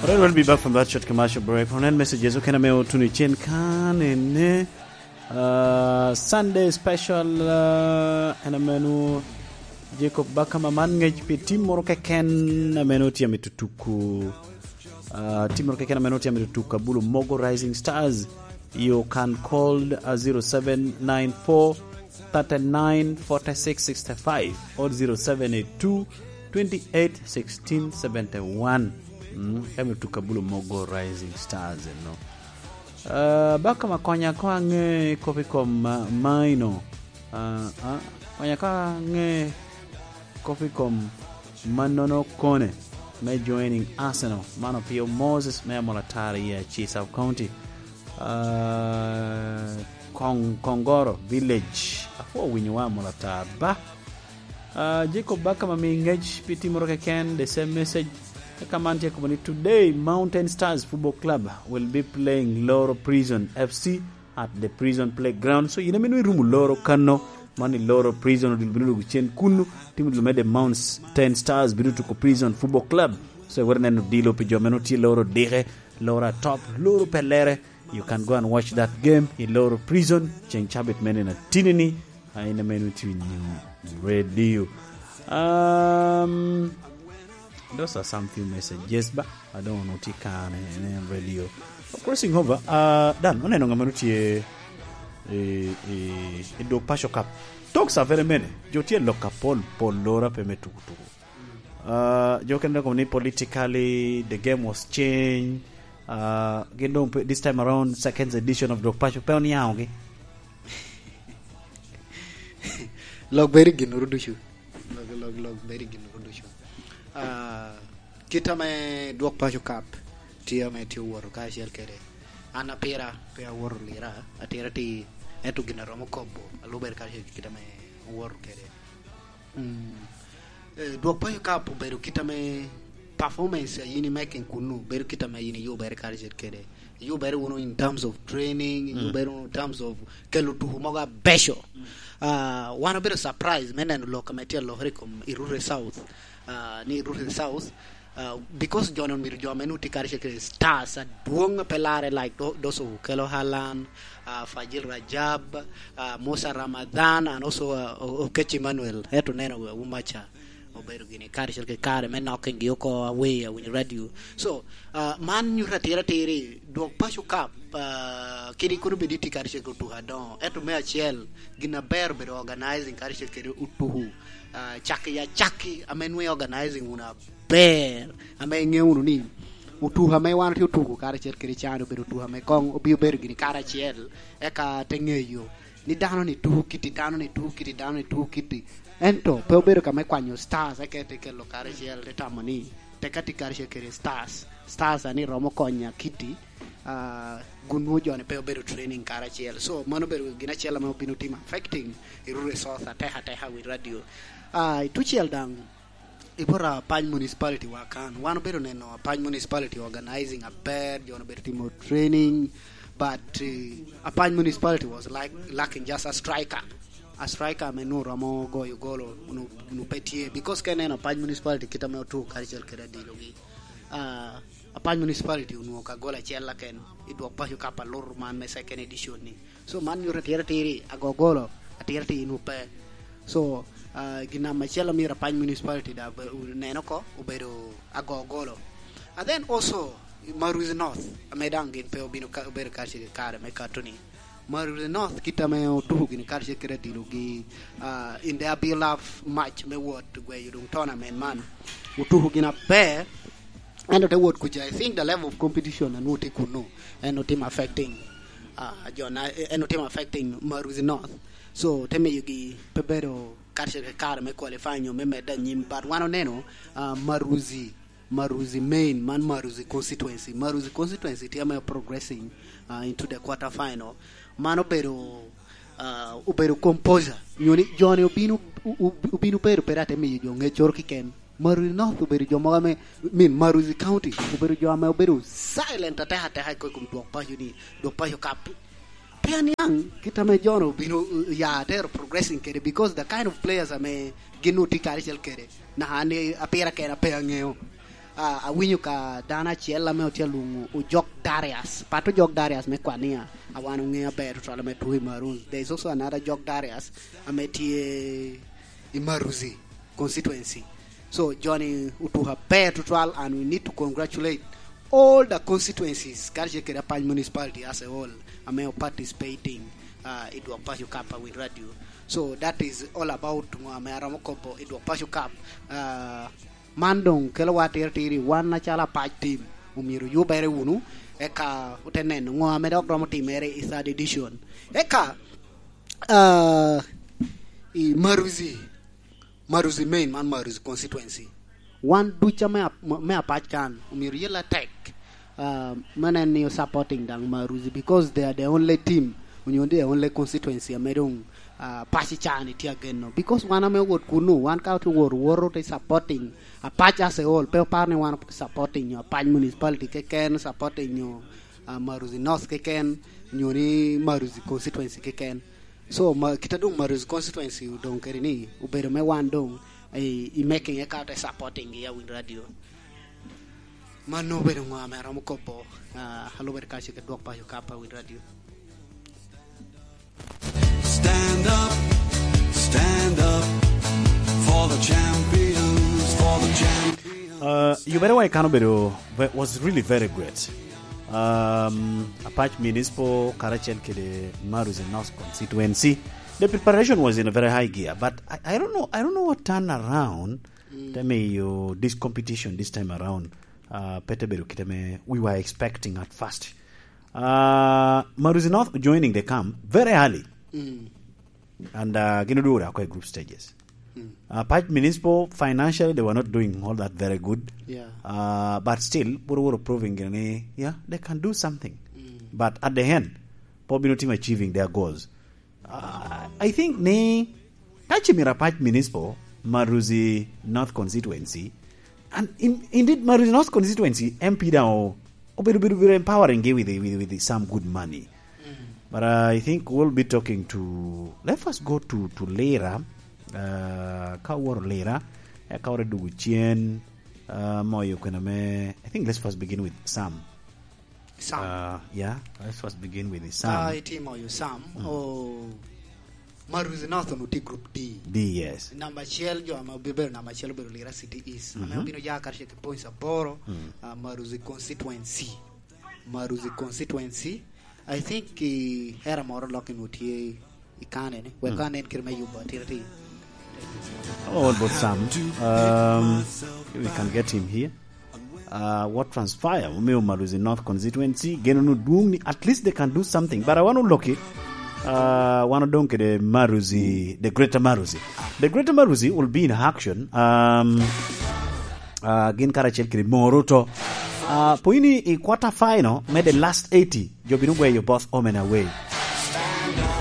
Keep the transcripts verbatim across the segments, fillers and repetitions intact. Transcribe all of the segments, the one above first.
All right, we'll be back from that short commercial break. Onen messages okene ame otuno i cen kan ene, uh, Sunday special, uh, en ame nu Jacob Bakama man ngec pi tim moro keken ame nu tye amito tuku, uh, tim moro keken ame nu tye amito tuku Abulu Mogo Rising Stars. You can call, uh, zero seven nine four thirty-nine forty-six sixty-five or zero seven eight two twenty-eight sixteen seventy-one. Mm, ka mito tuko Abulu Mogo Rising Stars eno. Uh, Bakama, konya ko aŋe kop i kom, uh, Maino. Uh, uh, konya ko aŋe kop i kom mannono kone me joining Arsenal. Man opio Moses me Amolatara i Aci Sub County. Uh, Kong-, Kongoro Village. Apwoo winyo wa Amolatara ba. Uh, Jacob Bakama mi ngec pi tim moro keken, the same message. Eka man tye kobo ni, today Mountain Stars Football Club will be playing Loro Prison F C at the Prison Playground. So, yin ame nwoŋo irumo Loro kano, man i Loro Prison, odil bino dwogo cen kunu, tim odil me the Mountain Stars bino tuko Prison Football Club. So, iwero neno odilo pi jo ame nwoŋo tye Loro dike, Loro atop, Loro pelere. You can go and watch that game i Loro Prison, ceng cabit mene na tini ni, a, in ame nwoŋo itye winyo radio. Um, those are some few messages, ba, I don't know, tye kane, ne radio. Crossing over, uh, Dan, oneno ŋama nwoŋo tye i, i, i dwog Paco Cup. Talks are very many. Jo tye lok apol, pol lora pe me tuku tuku. Uh, jo kene dok ni politically, the game was changed. Uh, gin dong pe, this time around, second edition of Dwog Paco pe oniaŋogi. Lok bedo i ginwu ducu. Lok, lok, lok bedo i ginwu ducu. Ah, kit ame Dwog Paco Cup tye ame tye owoto kacel kede. An apira pe awoto lira, atira ti, ento gin aromo kobo, alubere kacel ki kit ame owoto kede. Mm. Eh, Dwog Paco Cup obedo kit ame performance a in i making kunu, bedo kit ame in iyubere karacel kede. Iyubere wunu in terms of training, mm, iyubere wunu in terms of kelo tuku mogo abeco. Mm. Ah, wan obedo surprise me neno lok ame tye alokere i kom i Rurre South. Ah, ni Rurre South, ah, because jo-ni omito jo ame nwoŋo tye karacel kede stars adwoŋ a pe larre, like tho-, those Okello Allan, ah, Fajil Rajab, ah, Musa Ramadhan, and also, ah, O-, Okech Emmanuel. Ento neno, ah, Umacha obedo gini karacel kede kare me knocking gi oko away, awinyo radio. So, ah, man nyuto atira atiri, Dwog Paco Cup, ah, kadi kono bed itye karacel kede otuko adoŋo. Ento me acel, gin aber obedo organizing karacel kede otuko, ah, cakki acakki ame nwoŋo organizing wunu aber, ame iŋeo wunu ni otuko ame wan otye otuko karacel kede can obedo otuko ame koŋ obino bedo gini karacel, eka te ŋeyo ni dano-ni tuko kiti, dano-ni tuko kiti, dano-ni tuko kiti. Ento pe obedo ka me kwanyo stars, eka te kelo karacel, te tamo ni tek atye karacel kede stars. Stars a ni romo konya kiti, ah, gun nwoŋo jo-ni pe obedo training karacel. So, mano obedo gin acel ame obino timo affecting i Rurre South atek ateka wi radio. Ah, i tucel daŋ, i bot Apany Municipality wa kan, wan obedo neno Apany Municipality organizing aber, jo-ni obedo timo training, but, eh, Apany Municipality was like lacking just a striker. A striker ame nwoŋo romo goyo golo, nu-, nu pe tye. Because ka ineno Apany Municipality kit ame otuko karacel kede adilogi, ah, Apany Municipality onwoŋo ka gol acel keken i Dwog Paco Cup alur man me second edition ni. So, man nyuto atira atiri, ago golo, atira atiri nu pe. So, ah, gin namba acel amyero Apany Municipality da be-, neno oko, obedo ago golo. And then also, Maruzi North, ame daŋ gin pe obino ka, obedo karacel kare me kato ni. Maruzi North, kit ame otuko gini karacel kede adilogi, ah, in their beloved match me wot gweyo doŋ tournament man. Otuko gin aber, ento te wot kuca, I think the level of competition a nwoŋo tye kunu, en otimo affecting, ah, jo na, en otimo affecting Maruzi North. So, te miyogi pe bedo karacel kare me qualify nyo me medde anyim. But wan oneno, ah, Maruzi, Maruzi main, man Maruzi constituency. Maruzi constituency tye ame progressing, ah, into the quarter final. Man obedo, ah, obedo composure. Nyo ni jo-ni obino, u-, u-, obino bedo pera te miyo jo ŋeccoro kiken. Maruzi North obedo jo mogo ame, I mean, Maruzi County obedo jo ame obedo silent ateka ateka i kom Dwog Paco ni, Dwog Paco Cup. Pe aniaŋ kit ame jo-nu obino, uh, ya atero progressing kede, because the kind of players ame gin otye karacel kede, naka an i apira kena pe aŋeo. Ah, awinyo ka dano acel ame otye alwoŋo Ojok Darius. Pat Ojok Darius me Kwania, a wan oŋeo aber tutwal ame tuko i Maroons. There is also another Ojok Darius ame tye i Maruzi constituency. So, joni otuko aber tutwal, and we need to congratulate all the constituencies, karacel kede Apac Municipality as a whole, ame o participating, uh, i Dwok Paco Cup a Win Radio. So, that is all about ŋo ame aromo kobo i Dwok Paco Cup. Uh, man doŋ kelowa atirtiri, wan acalo Apac team, omyero oyubere wunu, eka ote neno ŋo ame dok romo timere i third edition. Eka, uh, i Maruzi, Maruzi main, man Maruzi constituency. Wan duca me ap-, me Apac kan, omyero yella tek, uh, me nen ni supporting daŋ Maruzi, because they are the only team, onyo the only constituency ame doŋ, uh, Apac i caa-ni tye ageno. Because wan ame owot kuno, wan ka otye wot, woto te supporting Apac as a whole, pe oparo ni wan supporting nyo Apac Municipality keken, supporting nyo, uh, Maruzi North keken, nyo ni Maruzi constituency keken. So, ma, kit a doŋ Maruzi constituency odoŋ kede ni, obedo me wan doŋ i, i making, eka te supporting gi a Win Radio. Mano obedo ŋo ame aromo kobo, ah, alubere kace kede Dwok Paco Cup a Win Radio. Stand up, stand up for the champions, for the champions. Uh, yubere wa i kan obedo ve-, was really very great. Um, Apac Municipal karacel kede Maruzi North Constituency, the preparation was in a very high gear, but I, I don't know, I don't know what turned around. Mm. Te miyo this competition this time around, uh, pe te bedo kite me we were expecting at first. Uh, Maruzi North joining the camp very early. Mm. And, uh, gin odwogo oko i group stages. Mm. Uh, Apac Municipal, financially, they were not doing all that very good. Yeah. Uh, but still, pwod oworo proving gini ni, yeah, they can do something. Mm. But at the end, pwod obino timo achieving their goals. Uh, I think ni, ka ce myero Apac Municipal, Maruzi North Constituency, and in, indeed, Maruzi North Constituency, M P daŋ o-, obedo, bedo, bedo empowering gi with, with, with some good money. Mm. But I think we'll be talking to, let's first go to, to Lira. Uh, ka woro Lira, eka woro dugu cen, uh, moyo kwena me, I think let's first begin with Sam. Sam. Uh, yeah, let's first begin with Sam. Ka itimo yo Sam, mm, o, Maruzi North onwoŋo tye group D. D, yes. Namba acel, jo ame obibedo namba acel obedo Lira City East. Ame, mhm, obino ya karacel ki points aboro, mm, ah, Maruzi constituency. Maruzi constituency. I think, eh, era moro lok onwoŋo tye i kane ni. Wek, mm, anen kit me yubo atira ti. Oh, what about Sam? Um, we can get him here. Uh, what transpire? Omiyo Maruzi North Constituency, geno nu dwong ni at least they can do something. But I want to look it. Uh, wan odong kede Maruzi, the Greater Maruzi. The Greater Maruzi will be in action. Um, uh, gin karacel kede Moruto. Uh, poini i quarter final, me the last eighty, jo bino gweyo both home and away.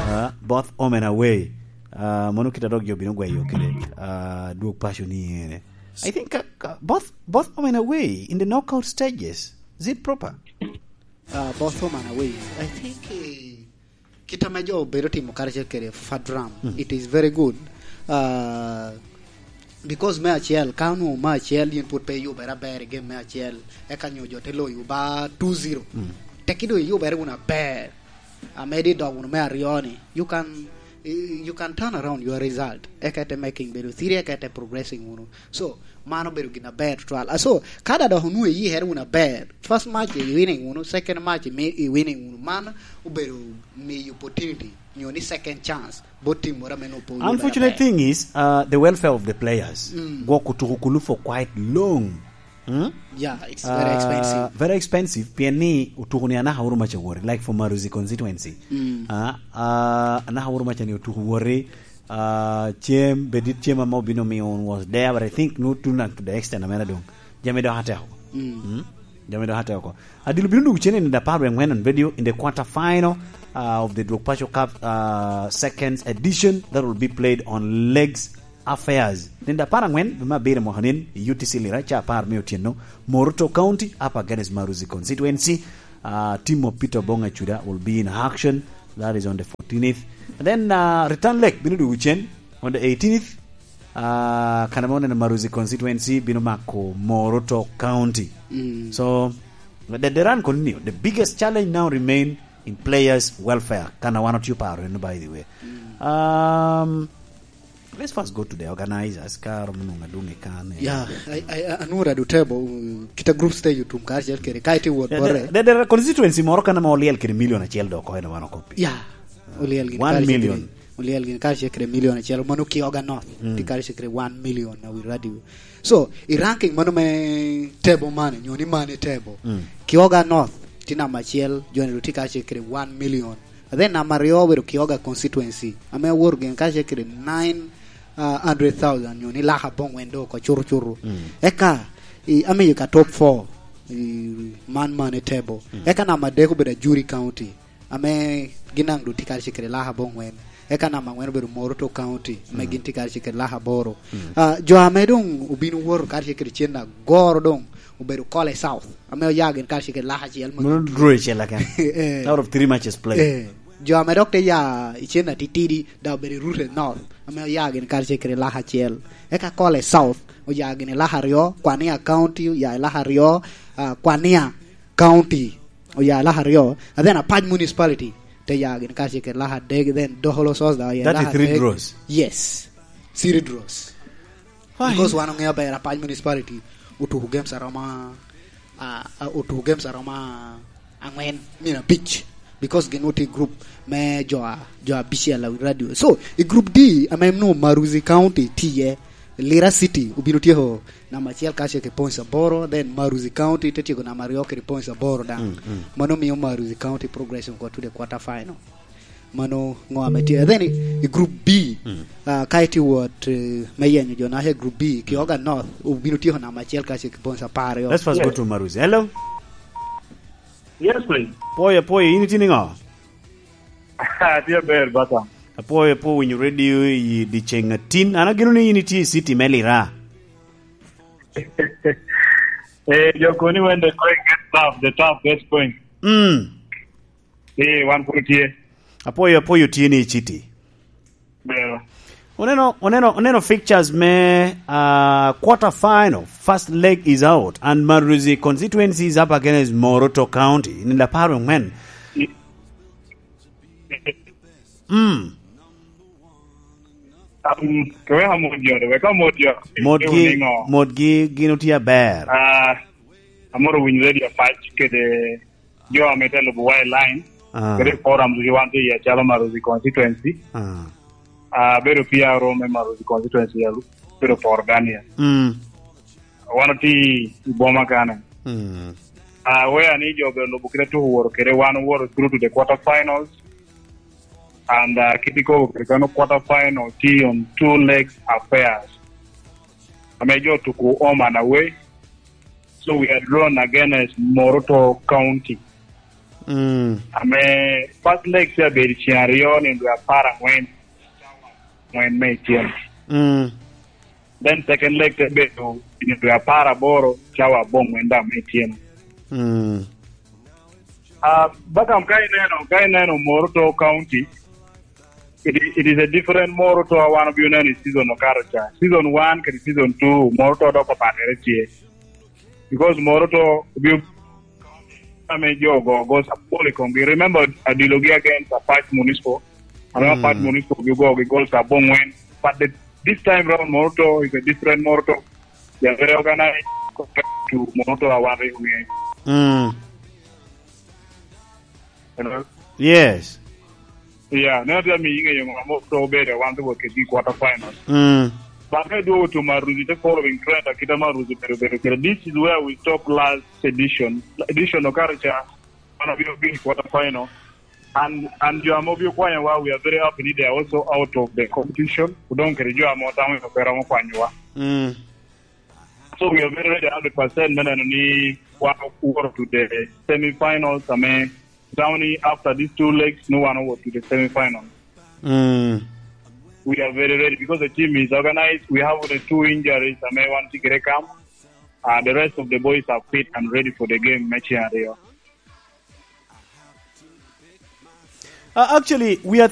Uh, both home and away. Uh, mono kita dok jo bino gweyo kede, uh, Dwok Paco ni ene. I think, uh, uh, both, both home and away in the knockout stages. Is it proper? Uh, both home and away. I think, eh, kit ame jo obedo timo karacel kede Fadram, mm, it is very good. Uh, because me acel, ka onwoŋo me acel, yin pwod pe iyubere aber i game me acel, eka nyo jo te loyo ba two zero. Mm. Tekki doŋ iyubere wunu aber. Amedi idok wunu me aryo ni, you can, you can turn around your result. Eka ite making bedo three, eka ite progressing wunu. So, mano obedo gin aber tutwal. Ah, so, ka da dok onwoŋo iyikere wunu aber, first match i winning wunu, second match i mi-, i winning wunu, mano obedo miyo opportunity, nyo ni second chance, bot team moro ame nwoŋo pe oyubere aber. Unfortunate thing is, uh, the welfare of the players. Mm. Gwok otuko kulu for quite long. Hmm? Yeah, it's very, uh, expensive. Very expensive, pien ni otuko ni anaka woro maca wori, like for Maruzi constituency. Mm. Ah, ah, anaka woro maca ni otuko wori, ah, cem, bedit cem ame obino miyo un was there, but I think no tun to the extent amene dong. Jami dok ateko. Mm. Hmm? Jami dok ateko. Adilo bino dugu cene in the power and when on video in the quarter final, uh, of the Dwok Paco Cup, uh, second edition that will be played on legs affairs. Nino apar aŋwen, dwe me abiro mwaka nin, i U T C Lira, ca apar me otyeno, Moruto County, up against Maruzi Constituency. Uh, team of Peter Obong Acuda will be in action. That is on the fourteenth. And then, uh, return leg, bino dugu cen, on the eighteenth. Ah, kan ame oneno Maruzi constituency bino mako Moroto County. Mm. So, the, the run continue. The biggest challenge now remain in players' welfare. Kan a wan otio paro eno, by the way. Mm. Um, let's first go to the organizers. Ka romo nongo adwong i kan, eh. Yeah, I, I, I, anura du table, uh, kita group stage utum kar chel kere, ka iti wot. Yeah, bore. The, the, the constituency moro kan ame oliel kede million acel dok oko en wan okoppi. Yeah. Oliel gin One kare million. Cekere, oliel gin kare cekere million acel, mano Kioga North. Mm. Tye kare cekere one million na wi radio. So, i ranking mano me table mane, nyo ni mane table. Mm. Kioga North tye namba acel, joni ru tye kare cekere one million. And then namba aryo obedo Kioga constituency, ame aworo gin kare cekere nine, uh, hundred thousand, nyo ni laka abongwen do oko curucuru. Mm. Eka, i, amiyo ka top four, i, man mane table. Mm. Eka namba adek obedo Ajuri County. Ame gin daŋ doŋ tye kare cekere laka abongwen. Eka namba angwen obedo Moroto County, ame Mm. gin tye kare cekere laka aboro. Mm. Ah, jo ame doŋ obino woto kare cekere cen agoro doŋ obedo Kole South, ame oya gin kare cekere laka acel ma Mano gin draw icel aken. Eh. Out of three matches played. Eh. Jo ame dok te ya i cen atitidi, daŋ obedo i Rute North, ame oya gin kare cekere laka acel. Eka Kole South oya gin i laka aryo, Kwania County oya i laka aryo, ah, Kwania County oya i laka aryo, and then Apac Municipality te ya gin kare cekere laka adek, then Doholo South daŋ oya i That is laka three adek. Draws. Yes. Three draws. Fine. Because wan oŋeo ber Apac Municipality otuko games aroma, ah, ah, otuko games aroma angwen, mina abic. Because gin otye group me jo a, jo abicel a radio. So, i group D, ame nwoŋo Maruzi County tye iye, Lira City obino tyeko namba acel kacel ki points aboro, then Maruzi County te tyeko namba aryo kede points aboro daŋ. Mm, mm. Mano miyo Maruzi County progression go to the quarter final. Mano ŋo ame tye. Then i, i group B, Mm. ah, ka itye wot, eh, me yenyo jo naca i group B, Kioga North obino tyeko namba acel kacel ki points apar aryo. Let's first go Yes. to Maruzi. Hello? Yes, please. Pwoyo, pwoyo, in itye niŋo? Atye aber, bata. Apwoyo, apwoyo winyo radio i dyeceŋ atin. An ageno ni in itye i city me Lira. Eh, jo koni when they try get tough, the tough gets going. Mm. Eh, wan pwod tye. Apwoyo, apwoyo tye ni i city. Bero. Oneno, oneno, oneno fixtures me, uh, quarter final. First leg is out and Maruzi constituency is up against Moroto County in the power of men. I- Mm. Um, keweka mot jo, weka mot jo. Motgi, Ewu niŋo? Motgi gin otye aber. Ah, amoro winyo radio Apac kede jo ame te lubo wa i line. Ah. Kede forums gi wan tye iye calo Maruzi constituency. Ah. Ah, bedo P R O me Maruzi constituency, alu-, bedo Poro Daniel. Mm. Wan otye i boma kane. Mm. Ah, aware ni jo obedo lubo kite tuko woro kede wan owoto through to the quarter finals. And, ah, kit ikobo kede kano quarter final tye on two legs affairs. Ame jo tuko home and away. So we are drawn against Moroto County. Mm. Ame first leg tye abedo ceng aryo ni dwe apar angwen, angwen me icel. Mm. Then second leg te bedo i dwe apar aboro, cawa abongwen daŋ me icel. Mm. Ah, Bakam, ka ineno, ka ineno Moroto County, it, it is a different Moroto a wan obino neno i season okato ca. Season one kede season two, Moroto dok opatere tye. Because Moroto obino ame jo ogo goals apol i komgi. Remember, adilogi against Apac Municipal. Ame Mm. Apac Municipal obino gogi goals abongwen. But the, this time round, Moroto is a different Moroto. They are very organized compared to Moroto a wan rik ong'eyo. Mm. Hello? Yes. Yeah, neno tye amiyo ing'eyo ŋo ma to obedo wan to work in quarter final. Mm. But me dwogo to Maruzi, the following trend, akita Maruzi bedo bedo kede. This is where we stop last edition. Edition okato ca, wan obino bino quarter final. And, and jo ame obino kwanyowa, we are very happy ni they are also out of the competition. Odong kede jo ame otamo ni pe romo kwanyowa. Mm. So we are very ready hundred percent me neno ni wan owoto to the semi-finals, ame tamo ni after these two legs, ni wan owoto to the semi-finals. Mm. We are very ready because the team is organized. We have only two injuries, ame wan tye kede kam. Uh, the rest of the boys are fit and ready for the game me ceng aryo. Uh, actually, we are